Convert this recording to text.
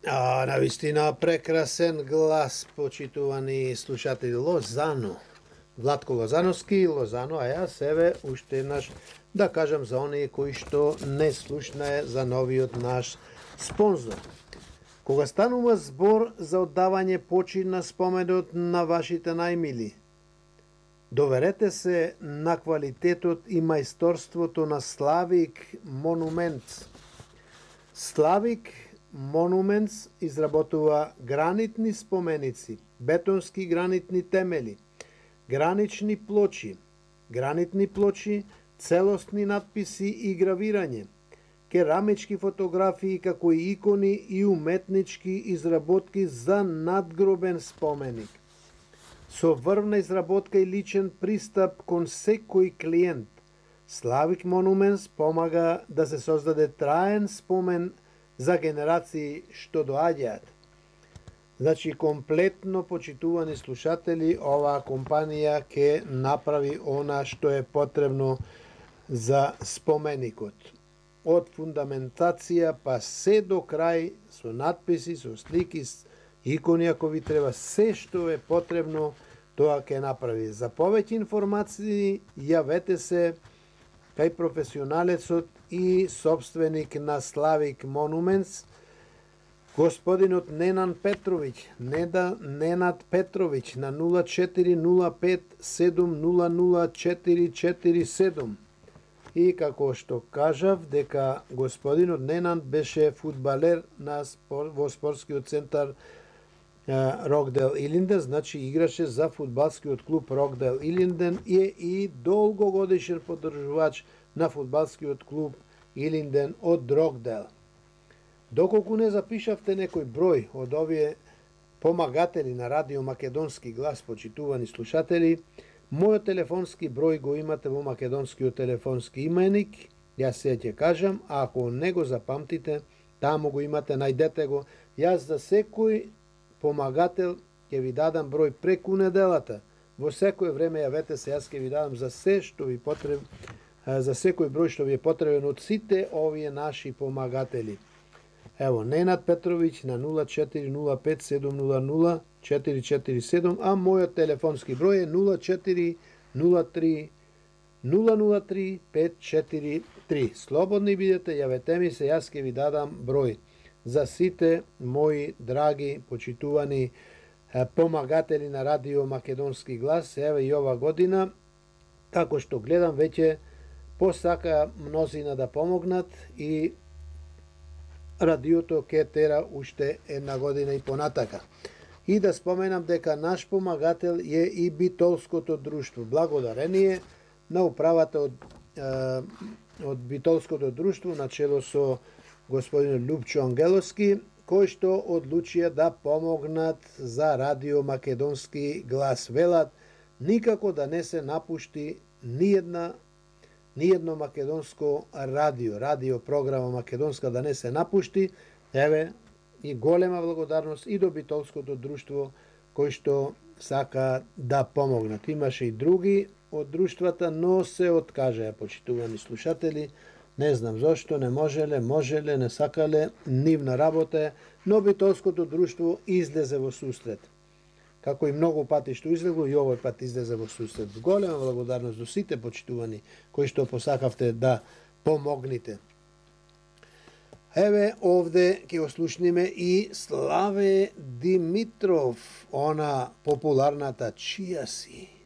Навистина прекрасен глас, почитувани слушатели. Лозано, Владко Лозановски, Лозано, а јас еве уште еднаш да кажам за оние кои што не слушнае за новиот наш спонзор. Кога станува збор за оддавање почин на споменот на вашите најмили, доверете се на квалитетот и мајсторството на Славик Монументс. Славик Монументс изработува гранитни споменици, бетонски гранитни темели, гранитни плочи, целосни надписи и гравирање, керамички фотографии како и икони и уметнички изработки за надгробен споменик. Со врвна изработка и личен пристап кон секој клиент, Славик Монументс помага да се создаде траен спомен за генерации што доаѓаат. Значи, комплетно, почитувани слушатели, оваа компанија ќе направи она што е потребно за споменикот. Од фундаментација па се до крај, со надписи, со слики, икони, ако ви треба, се што е потребно, тоа ќе направи. За повеќе информации, јавете се кај професионалецот и собственик на Славик Монументс, господинот Ненад Петровиќ на 0405 700 447. И како што кажав, дека господинот Ненад беше фудбалер во спортскиот центар Рокдел Илинден, значи играше за фудбалскиот клуб Рокдел Илинден и долгогодишен поддржувач на фудбалскиот клуб Илинден од Рокдел. Доколку не запишавте некој број од овие помагатели на Радио Македонски глас, почитувани слушатели, мојот телефонски број го имате во македонскиот телефонски именик, јас се ќе кажам, а ако не го запамтите, таму го имате, најдете го. Јас за секој помагател ќе ви дадам број преку неделата. Во секој време јавете се, јас ќе ви дадам за се што ви потребно, за секој број што ви е потребен од сите овие наши помагатели. Ево, Ненад Петровиќ на 0405 700 447, а мојот телефонски број е 0403 003 543. Слободни бидете, јавете ми се, јас ќе ви дадам број за сите мои драги, почитувани помагатели на Радио Македонски глас. Еве и ова година, како што гледам, веќе посака мнозина да помогнат и радиото ке тера уште една година и понатака. И да споменам дека наш помагател е и Битолското друштво. Благодарение на управата од Битолското друштво, начело со господин Лупчо Ангеловски, кои што одлучија да помогнат за Радио Македонски глас. Велат никако да не се напушти ниедно македонско радио програма македонска да не се напушти. Еве и голема благодарност и до Битолското друштво кои што сака да помогнат. Имаше и други од друштвата, но се откажаа, почитувани слушатели. Не знам зошто, не можеле, не сакале, нивна работа, но Битолското друштво излезе во сусрет. Како и многу пати што излегло, и овој пат излезе во сусрет. Голема благодарност до сите почитувани кои што посакавте да помогнете. Еве овде ќе ослушниме и Славе Димитров, она популарната Чија си.